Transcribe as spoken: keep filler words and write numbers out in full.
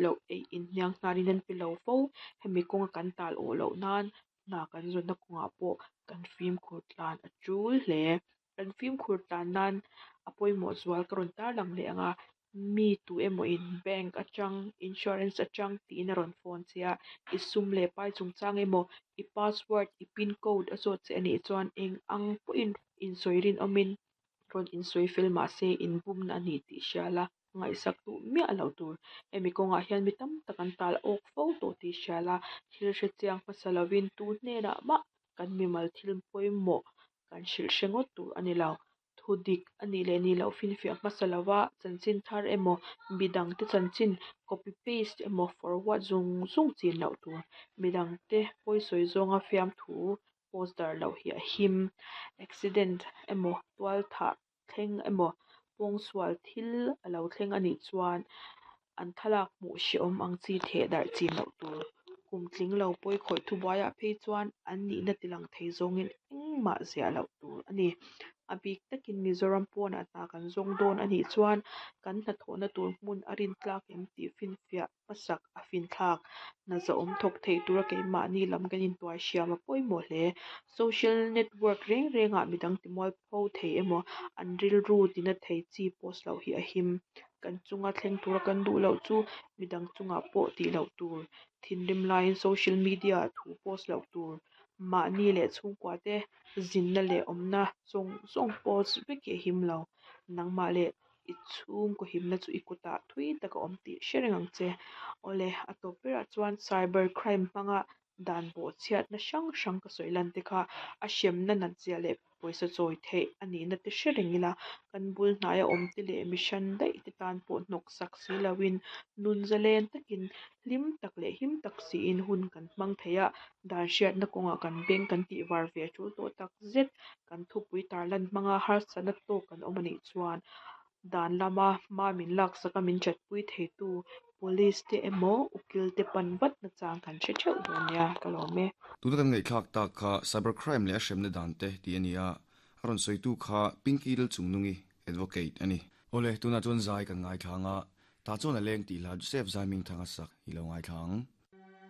loh, ei in hnianghnarin an pe lo fo. Hemi kawnga kan tal awh loh nan hna kan zawnna kawngah pawh kan fimkhur tlan a tul hle. Kan fimkhur tlan nan a pawimawh zual ka rawn tarlang leh ang a, mi tu emaw in bank atang, insurance atang tiin a rawn phone che a, i sum leh pai chungchang emaw, i password, i pin code a zawt che anih chuan eng ang pawhin insawi rinawmin rawn insawi fel mahse inbumna a ni tih hria la, ngaihsak duh miah loh tur. Hemi kawngah hian mi tam tak an tal awk fo tawh tih hria la, thil hrechiang hmasa lovin tu hnenah mah kan mimal thil pawimawh kan hrilh hre ngawt tur a ni lo. Thu dik a nih leh nih loh finfiah hmasa lova chanchin thar emaw midangte chanchin copy paste emaw forward zung zung chin loh tur. Midangte pawisawi zawnga fiamthu post darh loh hi a him. Accident emaw tualthah thleng emaw pawngsual thil a lo thleng anih chuan an thlalak hmuh hrehawm ang chi theh darh chin loh tur. Kum tling lo pawikhawih thubuaiah phei chuan an nihna tilang thei zawngin engmah ziah loh tur a ni. A bik takin Mizoram pawnah hna kan zawng dawn anih chuan kan hnathawhna tur hmun a rintlak em tih finfiah hmasak a finthlak. Hna zahawm thawk thei tura keimahni lam kan intuai hriam a pawimawh hle. Social network reng rengah midang timualpho thei emaw an rilru tina thei chi post loh hi a him. Kan chunga thleng tura kan duh loh chu midang chungah pawh tih loh tur. Thinrim laiin social media ah thu post loh tur. Mahni leh chhungkua te zinna leh awmna zawng zawng post vek hi a him lo. Nangmah leh i chhungkaw himna chu i kutah thui tak a awm tih hre reng ang che. Awle, a tawp berah chuan cyber crime hmanga dan bawhchhiatna hrang hrang ka sawi lan te kha a hremna nat zia leh pawisa chawi theih a nihna te hre reng ila, kan bul hnaia awm te leh mi hran daih te tan pawh hnawksak si loin nun zalen takin hlim tak leh him tak siin hun kan hmang thei a, dan hriatna kawngah kan beng kan tih var ve a tul tawh tak zet. Kan thupui tarlan hmanga harsatna tawk kan awm anih chuan dan lama hma min laksaka min chatpui theitu police te emaw ukil te pan vat nachang kan hre theuh dawn nia ka lawm e. Tuna kan ngaihthlak tak kha cyber crime leh a hremna dan te tih a ni a, a rawn sawitu kha Pinky Lalchungnungi advocate a ni. Awle, tunah chuan zai kan ngaithla ang a, tah chuan a leng tih hla Joseph Zaimingthanga sak i lo ngaithla ang.